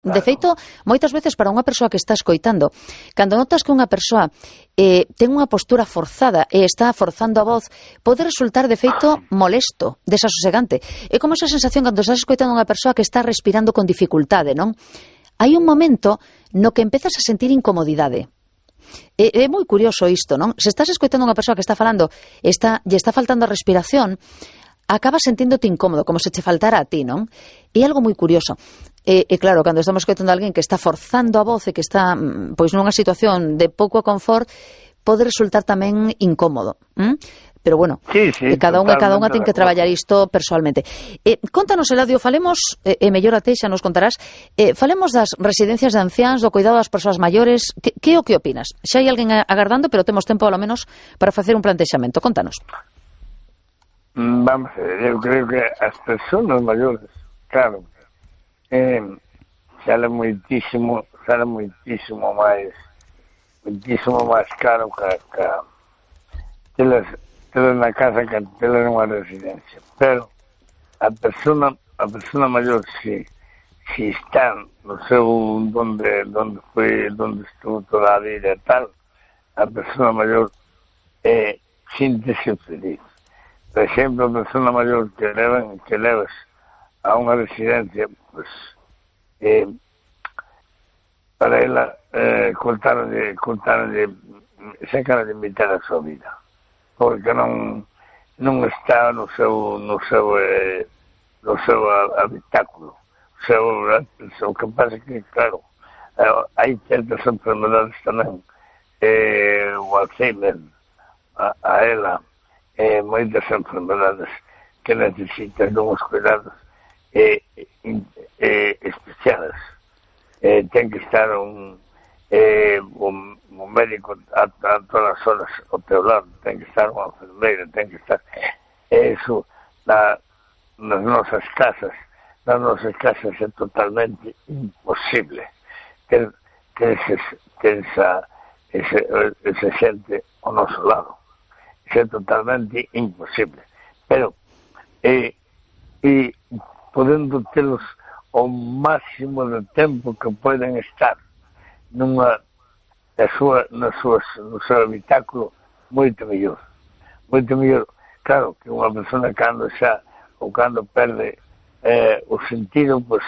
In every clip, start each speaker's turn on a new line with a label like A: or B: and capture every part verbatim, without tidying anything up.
A: De feito, moitas veces para unha persoa que está escoitando, cando notas que unha persoa eh, ten unha postura forzada e está forzando a voz, pode resultar de feito molesto, desasosegante. É como esa sensación cando estás escoitando unha persoa que está respirando con dificultade, non? Hai un momento no que empezas a sentir incomodidade. É, é moi curioso isto, non? Se estás escoitando unha persoa que está falando, está, lle está faltando a respiración, acabas senténdote incómodo, como se che faltara a ti, non? É algo moi curioso. E, e claro, cando estamos escoitando a alguén que está forzando a voz e que está pois nunha situación de pouco confort, pode resultar tamén incómodo. ¿m? Pero bueno,
B: sí, sí,
A: cada unha cada unha ten que traballar isto persoalmente. Eh, contanos, Eladio, falemos, e eh, mellor a te xa nos contarás, eh, falemos das residencias de anciáns, do cuidado das persoas maiores. Que, que o que opinas? Xa hai alguén agardando, pero temos tempo, ao menos, para facer un plantexamento. Contanos.
B: Vamos, eu creo que as persoas maiores, claro, eh, sale moitísimo, sale moitísimo máis, moitísimo máis caro que, que telas, telas na casa que telas nunha residencia. Pero a persona, a persona maior, si, si está no seu, donde, donde foi, donde estuvo toda a vida e tal, a persona maior eh, síntese feliz. Por exemplo, a persona maior que levan, que levas a unha residencia, pues, eh, para ela eh, cortaron de, cortaron de, sacaron de mitad a súa vida, porque non non está no seu no seu eh, no seu habitáculo. O seu, o que pasa é que, claro, eh, hai certas enfermedades tamén, eh, o Alzheimer, a, a ela, eh, moitas enfermedades que necesitan uns cuidados eh, eh, especiales. Eh, ten que estar un, eh, un, un médico a, a todas as horas ao teu lado, ten que estar unha enfermeira, ten que estar eso na, nas nosas casas. Nas nosas casas é totalmente imposible ter, ter, ese, ter esa, ese, ese xente ao noso lado. É totalmente imposible. Pero eh, e podendo telos o máximo de tempo que poden estar nunha na súa, na súa, no seu habitáculo, moito mellor. Moito mellor. Claro que unha persona cando xa ou cando perde eh, o sentido, pois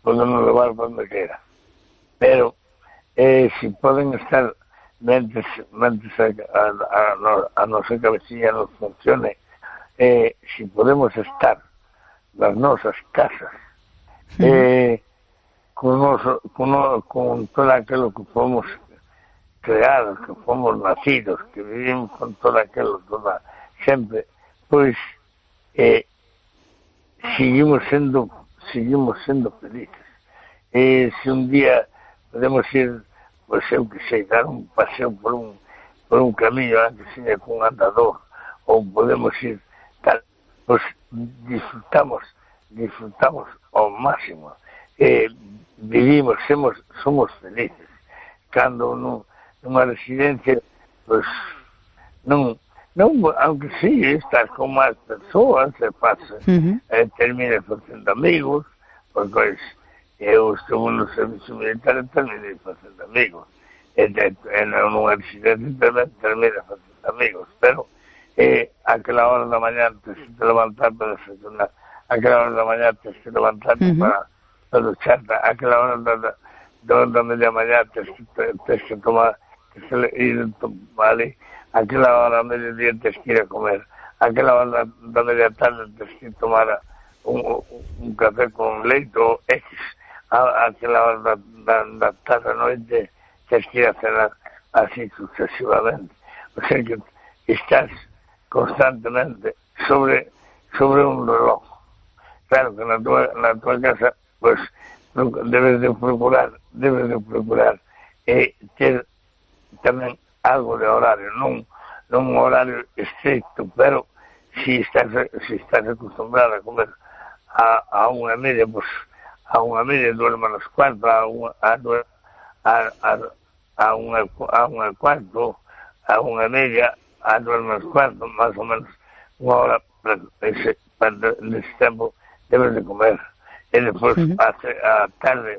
B: poden levar para onde queira. Pero eh, se poden estar mentes, mentes a, a, a, a nosa cabecilla non funcione, eh, se podemos estar nas nosas casas, eh, con, noso, con, con todo aquilo que fomos creados, que fomos nacidos, que vivimos con todo aquilo, toda, sempre, pois eh, seguimos sendo seguimos sendo felices. E se un día podemos ir, pois eu que sei, dar un paseo por un por un camiño antes seña con un andador, ou podemos ir tal, pois disfrutamos disfrutamos ao máximo, eh, vivimos, somos, somos felices. Cando non, nunha residencia, pois non, non, aunque sí, estás con máis persoas, se pasa, uh-huh. eh, termina facendo amigos, porque eu estou no servicio militar e terminei facendo amigos, e, e, e nunha residencia tamén termina facendo amigos, pero eh, aquela hora da mañá te se te levantar para desayunar, aquela hora da mañá tens que levantarte uh-huh. para, para ducharte, aquela hora da, da, da, da media mañá tens que, tens que tomar, tens que ir a tomar, aquela hora da media día tens que ir a comer, aquela hora da, da media tarde tens que tomar un, un café con leite ou X, a, aquela hora da, da, da tarde a noite tens que ir a cenar, así sucesivamente. O sea que estás constantemente sobre, sobre un reloj. Claro que na tua, na tua casa, pues, debes de procurar, debes de procurar eh, ter tamén algo de horario, non, non un horario estricto, pero si estás, si estás acostumbrado a comer a, a unha media, pues, a unha media duerma nos cuartos, a unha, a, a, a, a unha, a unha cuarto, a unha media, a duerma nos cuartos, máis ou menos unha hora, para ese, para ese tempo debes de comer, e depois uh-huh. a, a tarde